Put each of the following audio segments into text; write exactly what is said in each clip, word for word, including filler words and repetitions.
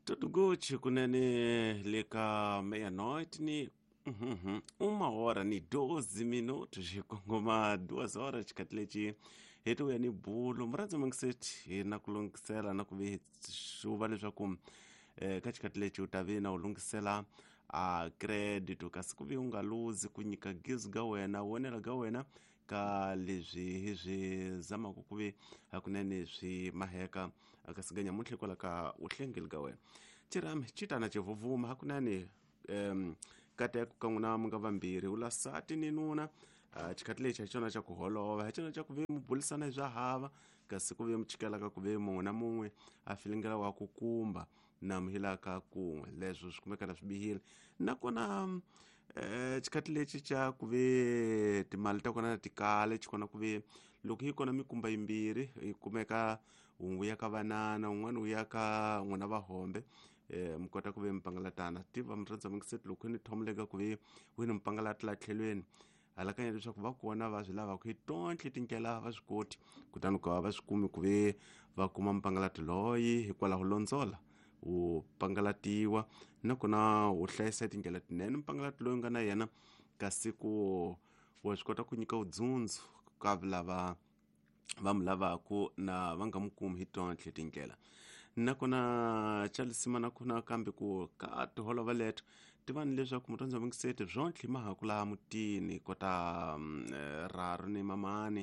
Tudo Gucci kunene le ka meia-noite ni uhum, uma hora ni doze minutos hi kongoma duas horas xikati lexi hi ti vuya ni bulo murhandzi mungiseti hi na ku lunghisela na ku vi xuva leswaku eh, ka xikati lexi u ta vi na u lunghisela a credit kasi ku vi u nga luzi ku nyika gizi ga wena vonela ga wena ka leswi hi swi zamaka ku vi hakunene swi maheka kasi ga nyamuntlha hikwalaho ka uhlengeli ga wena chirami xi tana xivuvuma hakunene um kateko ka n'wina mi nga vambirhi ula sati ni nuna uh, xikati lexi hi xona xa ku holova hi xona xa ku ve mi bulisana hi swa hava kasi ku ve mi chikelaka ku ve mun'we na mun'we a filingela wa ku kumba na muhilaka kun'we leswo swi kumeka na swi bihile nakona um xikati lexi xa ku ve timali ta kona ti kale xi kona ku ve loko yi kona mikumba yimbirhi yi kumeka wun'we ya ka vanana wun'wana wu ya ka n'wina vahombe eh mi kota ku ve mi pangalatana tiva murhandza mingiseti loko ni thomuleka ku ve wini mi pangalata la tlhelweni alakanya leswaku va kona va swi lavaka hi tontlhe tindlela va swi koti kutani ku va swi kumi ku ve va kuma mpangalati loyi hikwalaho londzola wu pangalatiwa nakona wu hlayisa tindlela tinene mpangalati loyi nga na yena kasi ku wa swi kota ku nyika vudzundzu ka lava va mu lavaku na va nga mu kumi hi tontlhe tindlela nakona chalisima nakona kambe ku ka tiholova leto tivani leswaku murhandzi wa mingiseti byontlhe mahaku laha mutini kota um, raru ni mamani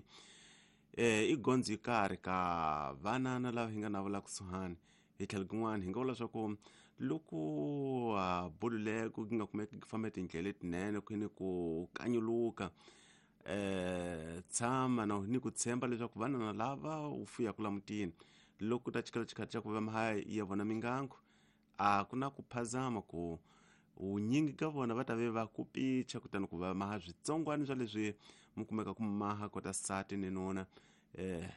eh, i gondzo yi karhi ka vanana lava hi nga na vula kusuhani hi tlhelo kun'wana hi nga vula swa ku loko a bululeko ku nga kumeki ku famba tindlela letinene ku ni ku kanyuluka eh tshama na ni ku tshemba leswaku vanana lava u fuyaka la mutini loko ta chikela xikati xa ku va maha ya vona mingangu a ku na ku phazama ku vunyingi ka vona va ta ve va ku picha kutani ku va maha switsongwana swa leswi mi kumeka ku maha kota sati ni nuna eh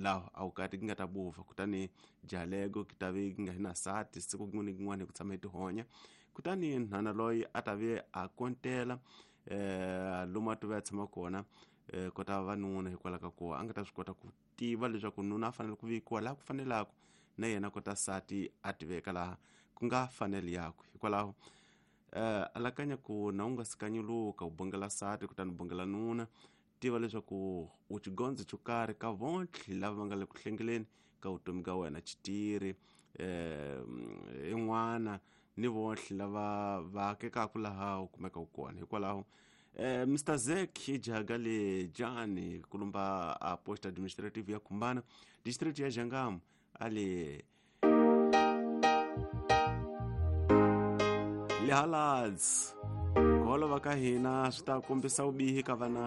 laha a wu kati ki nga ta buva kutani jalego ki ta ve ki nga hi na sati siku kin'wana ni kin'wana hi ku tshama hi tihonya kutani nhwana loyi a ta ve a kontela eh lomu a tive a tshama kona eh kota vanuna hikwalaho ka ku a nga ta swi kota ku tiva leswaku nuna a fanele ku vekiwa laha ku fanelaka na yena kota sati a tiveka laha ku nga faneli yakwe hikwalaho eh alakanya ku na u nga si kanyuluka u bongela sati kutani u bongela nuna tiva leswaku u xigondzo xo karhi ka vontlhe lava va nga le ku hlengeleni ka vutomi ka wena xitiri eh in'wana ni vontlhe lava va akekaka laha u kumeka u kona hikwalaho eh Mister Zek ijaga le Jani kulumba a post administrative ya Kumbana district ya Jangamu ale le halads ku holova ka hina swi ta kombisa vubihi ka vana.